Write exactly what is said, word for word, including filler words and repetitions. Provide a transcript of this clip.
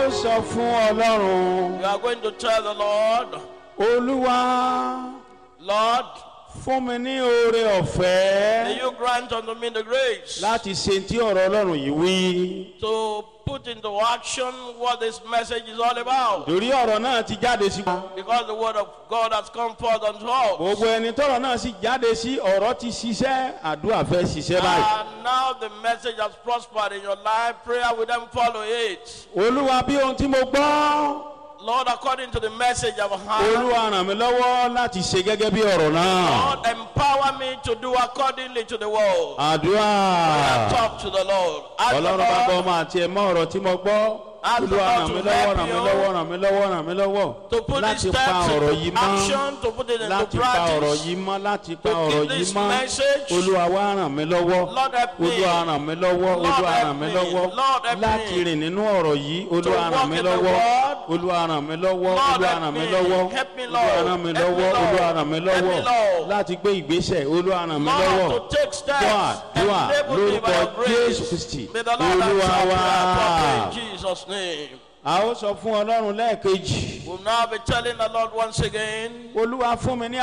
Ó sọ fún Ọlọ́run. You are going to tell the Lord, Olúwa, Lord, fún mi ní oore ọ̀fẹ́ may you grant unto me the grace láti ṣe tí ọ̀rọ̀ Ọlọ́run yìí wí. to put into action what this message is all about. Torí ọ̀rọ̀ náà ti jáde sí. Because the word of God has come forth unto us. Gbogbo ẹni tọ́rọ̀ náà sì jáde sí, ọ̀rọ̀ ti ṣiṣẹ́, àdúrà fẹ́ ṣiṣẹ́ báyìí. And now the message has prospered in your life. Prayer will then follow it. Olúwa, bí ohun tí mo gbọ́. Lord, according to the message I've heard, Olúwa, ràn mí lọ́wọ́ láti ṣe gẹ́gẹ́ bí ọ̀rọ̀ náà. Lord, empower me to do accordingly to the word. Àdúrà. Talk to the Lord. Ask the Ọlọ́run Bàbá, Lord Ọmọ àti Ẹ̀mọ́, ọ̀rọ̀ tí mo gbọ́. Ask the Olúwa, Lord ràn to mí lọ́wọ́, help ràn mí you lọ́wọ́, ràn mí lọ́wọ́, ràn mí lọ́wọ́ to put láti these pa steps ọ̀rọ̀ yìí into mọ́. action, to put it into Láti pa ọ̀rọ̀ practice. yìí mọ́, láti pa To ọ̀rọ̀ keep yìí this mọ́. message. Olúwa, wá ràn mí lọ́wọ́. Lord, help me. Olúwa, ràn mí lọ́wọ́. Lord, Olúwa, help ràn mí me. lọ́wọ́ Lord, help me. láti rìn nínú ọ̀rọ̀ yìí. Olúwa, walk ràn mí in the lọ́wọ́. word. Olúwa, ràn mí lọ́wọ́. Lord, Olúwa, help ràn mí me. lọ́wọ́. Help me, Olúwa, Lord. ràn mí Help me, lọ́wọ́. Lord. Olúwa, ràn mí Help me, lọ́wọ́ Lord. láti gbé ìgbésẹ̀. Olúwa, ràn mí lọ́wọ́. Lord, to take steps. Dúà, dúà Enable me by lórúkọ your grace. Jésù Kristi May the Lord Olúwa answer wa. prayer properly in Jesus' name. A ó sọ fún Ọlọ́run lẹ́ẹ̀kejì. We'll now be telling the Lord once again. Olúwa, fún mi ní